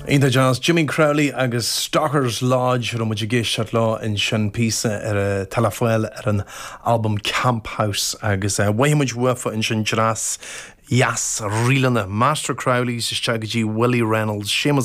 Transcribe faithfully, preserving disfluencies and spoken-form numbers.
Iontach deas Jimmy Crowley agus Stockers Lodge raibh muid ag éisteacht leo ansin píosa ar a telefáil ar an album Camp House agus uh, bhaimiid uafa ansin dreas dheas ríleanna Master Crowley's isteach go dtí Willie Reynolds, Seamus